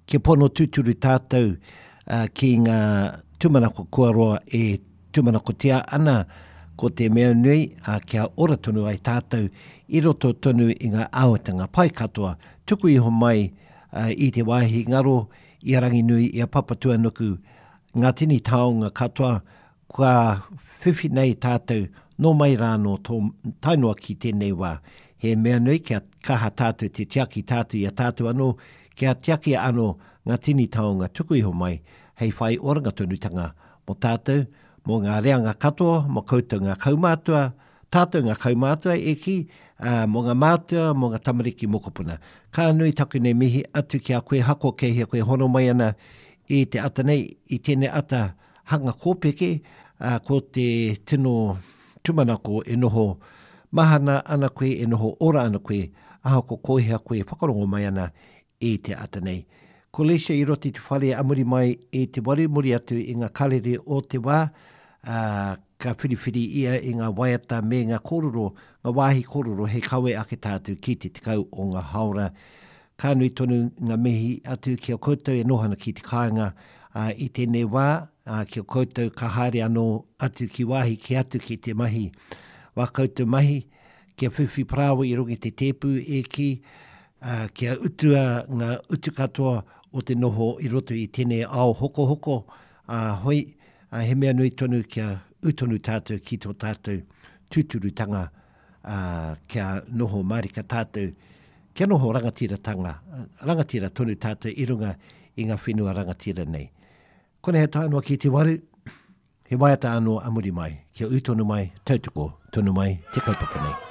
Kia pono tūturu tātou ki ngā tūmanako kua roa e tūmanakotia ana, ko te mea nui, kia ora tonu ai tātou i roto tonu i ngā āhuatanga pai katoa, tuku iho mai i te wāhi ngaro, i a Ranginui, i a Papatuanuku, ngā tini taonga katoa kua whiwhi nei tātou nō mai rā nō tō, tae noa ki tēnei wā. He mea nui kia kaha tātou te tiaki tātou i a tātou anō, kia tiakia anō ngā tini taonga tuku iho mai hei whai oranga tonutanga mō tātou, mō ngā reanga katoa, mō koutou ngā kaumātua, tātou ngā kaumātua e kī, ā, mō ngā mātua, mō ngā tamariki mokopuna. Ka nui taku nei mihi atu ki a koe Hako kei hea koe hono mai ana i te ata nei, i tēnei ata hanga kōpeke, ā, ko te tino tūmanako e noho mahana ana koe, e noho ora ana koe, ahakoa ko hea koe e whakarongo mai ana i te ata nei. Ko Leisha i roto i te whare a muri mai i te waru muri atu i ngā karere o te wā, ā, ka whiriwhiri ia i ngā waiata me ngā kōrero, ngā wāhi kōrero hei kawe ake tātou ki te 10 o ngā haora. Ka nui tonu ngā mihi atu ki a koutou e noho ana ki te kāinga, ā, i tēnei wā, ā, ki a koutou ka haere anō atu ki wāhi kē atu ki te mahi wā koutou mahi, kia whiwhi parāoa i runga i te tēpu e kī, ā, kia utua ngā utu katoa o te noho i roto i tēnei ao hokohoko, ā, hoi, ā, he mea nui tonu kia ū tonu tātou ki tō tātou tūturutanga, ā, kia noho mārika tātou, kia noho rangatiratanga, rangatira tonu tātou i runga i ngā whenua rangatira nei. Konei he tae noa ki te waru, he waiata anō a muri mai, kia ū tonu mai, tautoko tonu mai te kaupapa nei.